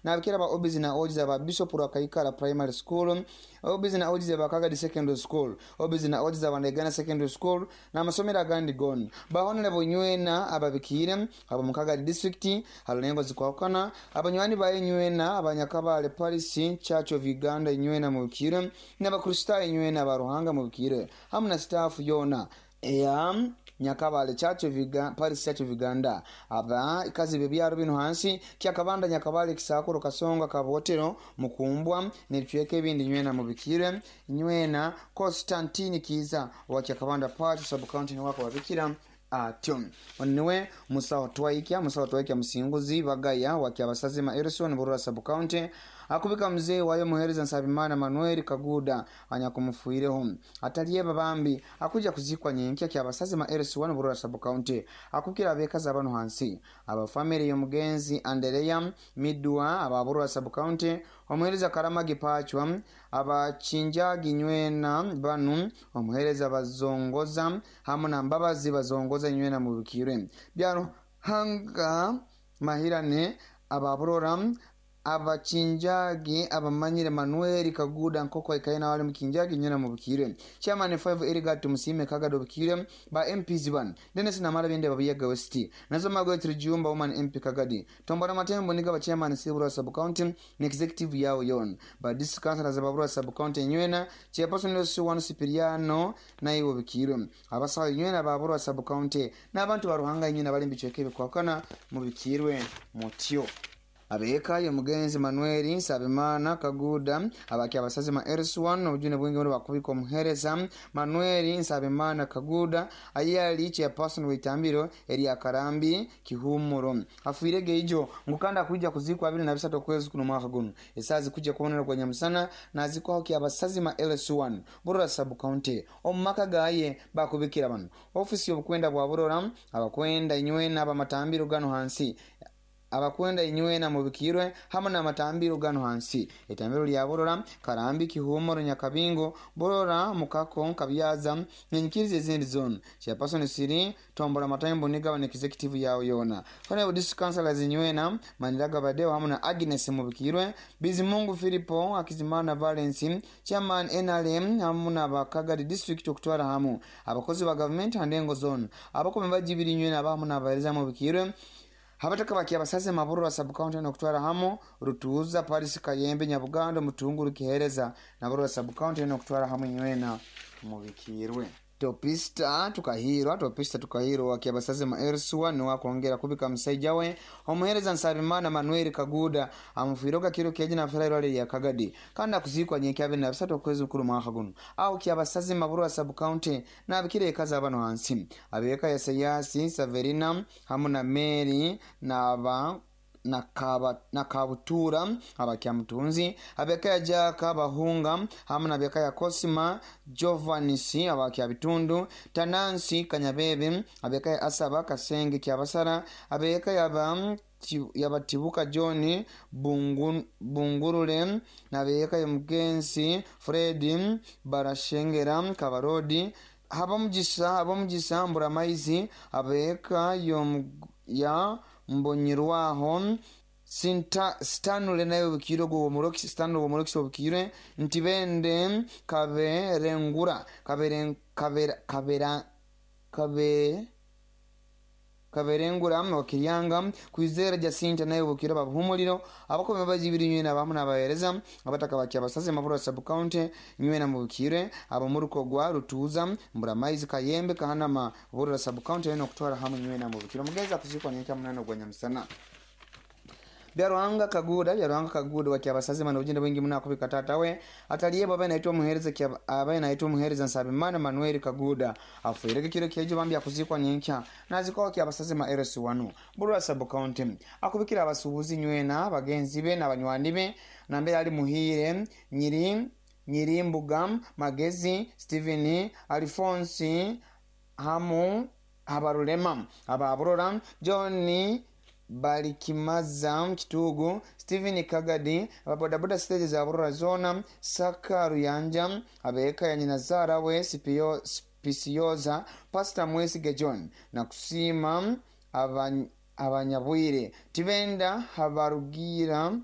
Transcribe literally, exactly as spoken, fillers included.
Nabikira ba O Bs na O Gs aba Bishop Rwakaikara Primary School, O Bs na O Gs aba Kagadi Secondary School, O Bs na O Gs aba Ndegana Secondary School n'amasomero agandi gona. Ba honorable nywena ababikire abo mu Kagadi District harulengo zikwahukana, abanywani baye nywena abanyakabale Parish Church of Uganda nywena mubikire, n'Abakristaayo nywena ba Ruhanga mubikire, hamu na staff yona eya Nyakabale Church of Uganda, Parish Church of Uganda. Aba ikazi bebyaro bino hansi: Kyakabanda, Nyakabale, Kisakuro, Kasonga, Kabotero, Mukumbwa n'ebicweka ebindi nywena mubikire. Nywena Constantine Kiza wa Kyakabanda Parish Sub County niwe akababikira atyo. Niwe Musawo Twaikya, Musawo Twaikya Musinguzi Bagaya wa Kyabasazima Erison, Burura Sub County, akubika mzee wayo Muhereza Nsabimana Manuel Kaguda anyakumufuireho atalyeba bambi, akuja kuzikwa nyenkya Kyabasazima Erison, Burura Sub County. Akukira abekazi abano hansi: abafamily y'omugenzi Andereya Midwa aba Burura Sub County, omuhereza Karamagi Pachwa, abakinjagi nywena banu: omuhereza Bazongoza hamu na Mbabazi Bazongoza nywena mubikirwe, Byaruhanga Mahirane ababurora, abakinjagi abamanyire Manuel Kaguda nkoko ikaina wali mukinjagi nyina mubikire, chairman five Erigat Musime Kagado bikire, ba M Ps ban Dennis Namara bende babiyaga West nazo Magoetri Jumba woman M P Kagadi, Tombora Matembo niga ba chairman Sibura Sub County ne executive yao yon, ba district councillors babura sub county nywena, chairperson L C one Sipiriano naiwo bikire, abasawo nywena babura sub county n'abantu baruhanga nywena bali mbicweke bikwakana mubikirwe mutyo. Abeeka ye mugenzi Manuel Nsabimana Kaguda abaki abasazima L C one, obujune bwingi muno bakubika omuhereza Manuel Nsabimana Kaguda ayali chairperson w'itambiro erya Karambi Kihumuro, afiire geijo ngukanda kuija kuzikwa abiri na bisatu okwezi kuno mwaka guno, esaa zikujja kubonera gwa nyamusana, nazikwaho kyabasazima L C one, Burora Sub County, omu maka gaye. Bakubikira bano: ofisi y'obukwenda bwa Burora, abakwenda inywena abamatambiro gano hansi, abakwenda inywena mubikirwe hamwe n'amatambiro gano hansi: itambiro lya Burora, Karambi, Kihumuro, Nyakabingo, Burora, Mukako, Kabyaza nenyikiriza ezindi zone, chairperson siri Tombora Matambo nigaba executive yawo yona, honorable district councillors inywena Maniraga Badeo hamwe na Agnes mubikirwe, Bizimungu Filipo, Akizimana Valence, chairman N R M hamwe n'abakagadi district okutwara hamu abakozi ba gavumenti handengo zone, abakome bajibiri inywena abahamu n'abahereza mubikirwe, abataka baki abasaze Maburura Sub County nokutwara hamu Rutuuza Paris, Kayembe, Nyabugando, Mutunguru, Kihereza na Burura Sub County nokutwara hamu nywena mubikirwe. Topista Tukahirwa, Topista Tukahirwa wakiabasaze ma L C one niwakongera kubika musaija we omuhereza Nsabimana Manuel Kaguda amufiiroga kiro keji nafera irwale lya Kagadi, kandi akuzikwa nyenkya abiri na bisatu okwezi mukuru mwaka guno aho Kyabasaze Maburura Sub County. Nabikira ekazi abano hansi: abeka ya Sayasi Saverina hamu na Mary naba na Kabutura abakyamutunzi, abeka ya Jaka Bahunga hamu na beka ya Cosima Jovanisi abakyabitundu, Tanansi Kanyabebe, abeka ya Asaba Kasenge Kyabasara, abeka yaba yabatibuka John Bungu, Bungurule nabeka ya Mugenzi Fred Barashengera Kabarodi, Habamugisa, Habamugisa Mburamaizi, abeka ya Mbonyirwaho Sinta Stanley naye obukire gwo Omurokisi Stanley Omurokisi obukire Ntibende Kaberengura Kabere Kabera Kabera Kabe Kaberengura Wakiryanga, Kwizera Jacinta naye obukire, babuhumuliro abakome bajibiri nywena abamu n'abahereza, abataka bakya abasaze Mabura Sub County nywena mubukire, abamuruko gwa Rutuza, Mburamaizi, Kayembe, Kahanama, Burura Sub County eno okutwara hamwe nywena mubukire. Omugezi akuzikwa nyenkya munana gwa nyamusana. Byaruhanga Kaguda, Byaruhanga Kaguda wakyabasaze mana obugenda bwingi muno akubika taata we ataliyebwa abaye naitwa omuhereza abaye naitwa omuhereza Nsabimana Manuel Kaguda, afuirege kiro kyejo bambi, akuzikwa nyenkya nazikwa wakyabasaze ma L C one, Burura Sub County. Akubikira abasuubuzi nywena bagenzi be n'abanywani be nambere ali: Muhire Nyiri Nyirimbuga, Magezi Stephen, Alphonse hamu Habarulema ababurora, John Balikimaza Kitugu, Stephen Kagadi, ababodaboda stage za Burora zona, Saka Ruyanja, abeka ya nyinazara we Sipio Pisiyoza, Pastor Mwesige John na kusima abanyabwire Tibenda Habarugira.